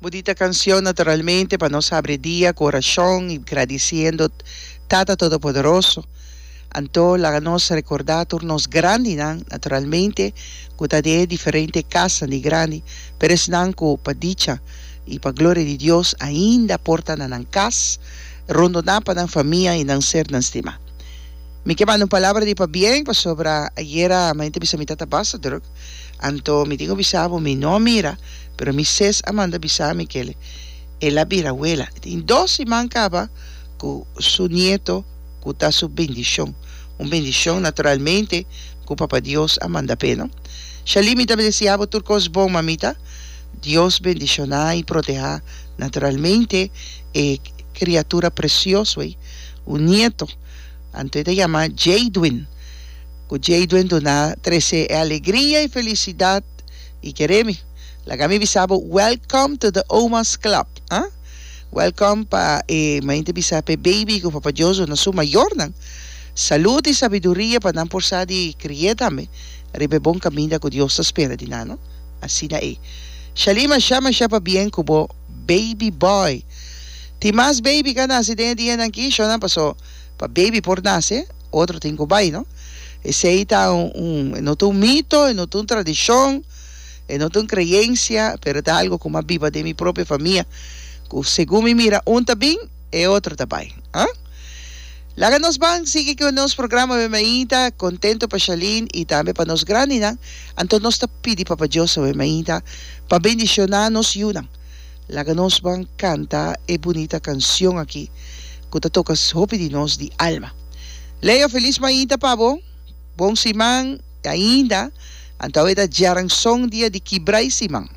Bunita cancion naturalmente pa nos habri dia cu oracion y gradiciendo Tata Todopoderoso. Anto laga nos recorda tur nos grandinan naturalmente cu ta den e diferente casnan di grandi, pero esnan cu pa dicha y pa gloria di Dios ainda por ta na nan cas rondona pa nan famia y nan sernan stima. Mi ke manda un palabra di pabien pasobra ayera mainta bisa mi tata basta druk. Anto mi tin ku bisa bo mi no a mira, pero mi ses a manda bisa mi kel el a bira wela. E tin dos siman kaba ku su nieto ku ta su bendishon. Un bendishon naturalmente ku Papa Dios a manda p'e no. Shalí mi ta deseá bo tur kos bon mamita. Dios bendishoná i protehá naturalmente e kriatura presioso ei, un nieto. Anto e ta yama Jadwin. Ku Jadwin duna trese e alegria i felisidat i kere mi. Laga mi bisa bo welcome to the Oma's Club ah. Welcome pa e main ta bisa pa e baby ku Papa Dios duna su mayornan salud i sabiduria pa nan por sa di kri'é tambe riba e bon kaminda ku Dios ta spera di nan no. Asina ei. Shalí masha masha pabien ku bo baby boy. Tin mas baby ka nase den e dianan aki shownan paso pa baby por nase. Otro tin ku bai, no? Esei ta un, e no ta un mito, e no ta un tradishon, e no ta un kreensia, pero ta algu ku mi a biba den mi propio famia, ku segun mi mira un ta bin, e otro ta bai. Ah? Laga nos ban sigui ku nos programa awe mainta, kontento pa Shalin i tambe pa nos grandinan. Anto nos ta pidi Papa Dios awe mainta pa bendishoná nos yunan. Laga nos ban kanta e bunita kansion aki ku ta toka hopi di nos di alma. Leo felis mainta pa bo, bon siman ainda, anto awe ta djaranson dia di kibra i siman.